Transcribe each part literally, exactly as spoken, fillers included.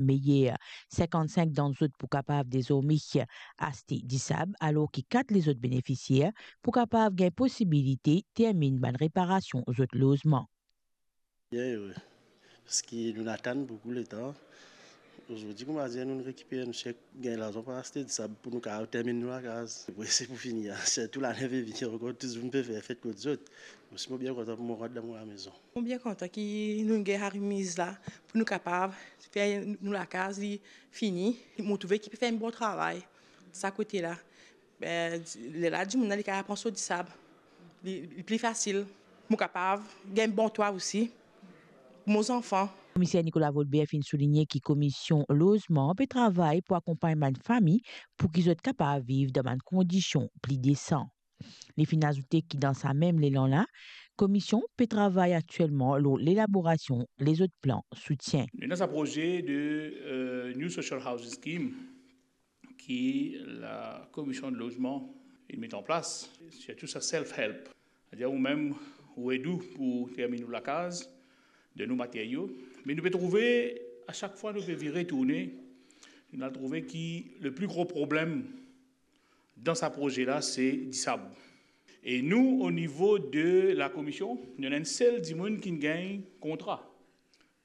meyer. Sinkannsink dan zot pou kapav dezorme aste disab, alor ki kat lezot benefisier pou kapav gagn posibilite terminn bann reparasion zot lozman. Bien ere, parski nou atann boukou letan. Ozordi, kouma dir, nou rekiper enn sek, gagn larzan pou aste disab pou nou kapav terminn nou lakaz. Apre, se pou fini, sirtou lane vini ankor, tou dimoun pe fer fet kot zot. Mo osi, mo bien kontan pou mo rant dan mo lamezon. Mo bien kontan ki nou gagn sa remiz la, pou nou kapav fer nou lakaz, li fini. Mo trouve ki pe fer enn bon travay, sa kote la. Be, lerla dimoun la, li kapav pran so disab. Li, li pli fasil. Mo kapav gagn bon twa osi pou mo zanfan. Komiser Nicolas Volbert finn souligne ki Komisyon Lozman pe travay pou akonpagn bann fami pou ki zot kapav viv dan bann kondision pli desan. Li finn azoute ki dan sa mem lelan la, Komisyon pe travay aktielman lor lelaborasion lezot plan soutien. Nou dan sa proze de, euh, New Social Housing Scheme ki la Komisyon Lozman inn met an plas, sirtou sa self-help. Setadir ou mem, ou ed ou pou terminn ou lakaz, donn ou materio. Me nou pe trouve, a sak fwa nou pe vire tourne, nou al trouve ki le pli gro problem dan sa proze la, se disab. E nou, o nivo de la Komisyon, nou ena enn sel dimoun ki gagn kontra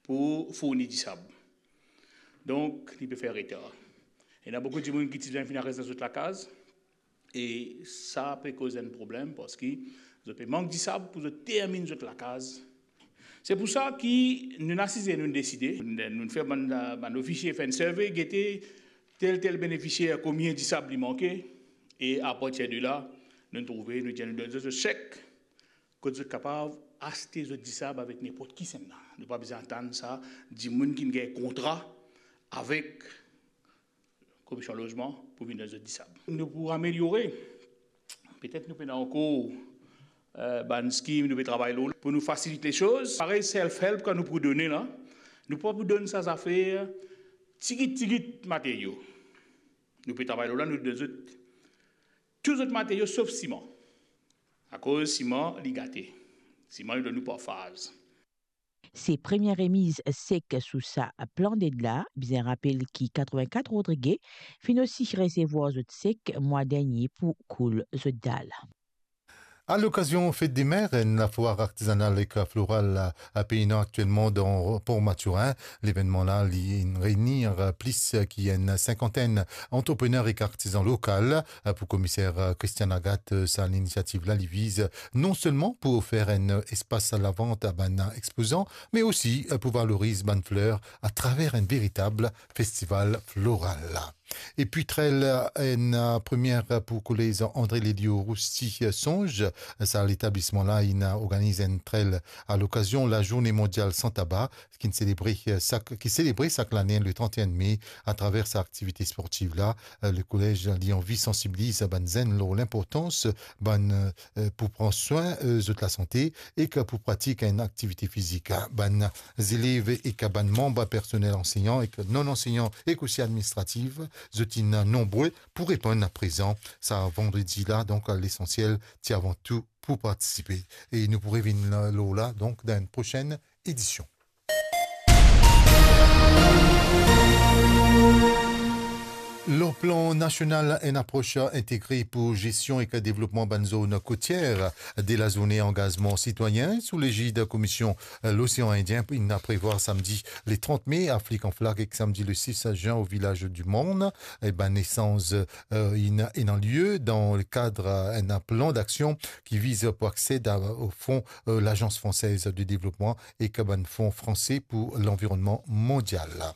pou fourni disab. Donk, li pe fer retar. Ena boukou dimoun ki ti bizin finn ares dan zot lakaz, e sa pe koz enn problem, parski zot pe mank disab pou zot terminn zot lakaz. Se pou sa ki nou asize, nou deside, nou fer bann, bann ofisie fer enn survey, gete tel, tel benefisier, konbien disab li manke, e apartir de la, nou trouve, nou dir, nou donn zot sek, kot zot kapav aste zot disab avek ninport kisannla. Nou pa bizin atann sa dimoun ki gagn kontra avek Komisyon Lozman pou vinn donn zot disab. Nou pou ameliore, petet nou pena ankor, euh, bann skim nou pe travay lor, pou nou fasilit lesoz. Parey self-help kan nou pou done la, nou pa pou donn sa zafer tigit, tigit materio. Nou pe travay lor la, nou donn zot tou zot materio sof siman. Akoz siman, li gate. Siman, li donn nou par faz. Se premie remiz sek sou sa plan ded la. Bizin rapel ki katrevinkat Rodrige finn osi resevwar zot sek mwa dernie pou koul zot dal. A lokazion Fete de Mer, enn lafwar artizanal ek floral pe ena aktielman dan Port Mathurin. Levennman la, li reini plis ki enn sinkantenn antreprener ek artizan lokal. Pou Komiser Christian Agathe, sa linisiativ la, li viz non selman pou ofer enn espas lavant a bann expozan, me osi pou valoriz bann fler atraver enn veritab festival floral. Epi trail, enn premie pou kolez André Lelio Roussy Songe. Sa letablisman la inn organiz enn trail a lokazion Lazourne Mondial San Taba, ki selebre sak, ki selebre sak lane le trente et un mai. Atraver sa aktivite sportiv la, le kolez li anvi sansibiliz bann zenn lor linportans bann, euh, pou pran swin, euh, zot lasante ek pou pratik enn aktivite fizik. Bann zelev ek bann manb personel ansegnan ek non ansegnan ek osi administratif, zot inn nonbre pou reponn prezan sa vandredi la. Donk, lesansiel ti avan tou pou partisipe. E nou pou revinn lor la, donk, dan enn prosenn edision. Lor plan nasional, enn apros integre pou gestion ek devlopman bann zone kotier. De la zourne angazman sitwayin sou legid Komisyon Losean Indien inn prevwar samdi le trant me, Afrik an Flag, ek samdi le sis zin o Vilaz di Morn. E bann esanz, euh, inn, inn lie dan le kad, euh, enn plan daksion ki viz pou aksed a, o fon, euh, Lagans Fransez de Devlopman ek bann Fon Franse pou Lanvironnman Mondial.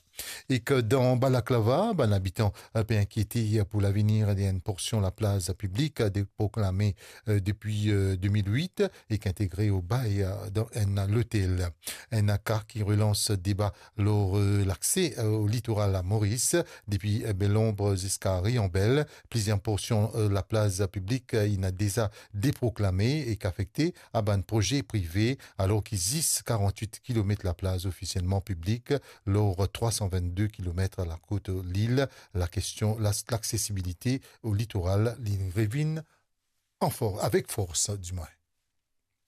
Ek dan balaklava, bann abitan, euh, pe inkiete pou lavenir de enn porsion laplaz piblik, euh, deproklame, euh, depi, euh, de mil wit ek integre o bay, euh, dan enn lotel. Enn ka ki relans deba lor, euh, lakse, euh, o litoral a Moris, depi, euh, Bel Ombre ziska Rianbel. Plizier porsion, euh, laplaz piblik, euh, inn deza deproklame ek afekte a bann proze prive, alor ki zis karant-wit kilomet laplaz ofisielman piblik lor trwa san vennde kilomet lakot lil. Lakestion, la, laksesibilite o litoral, li revinn an for-, avek fors, dimwin.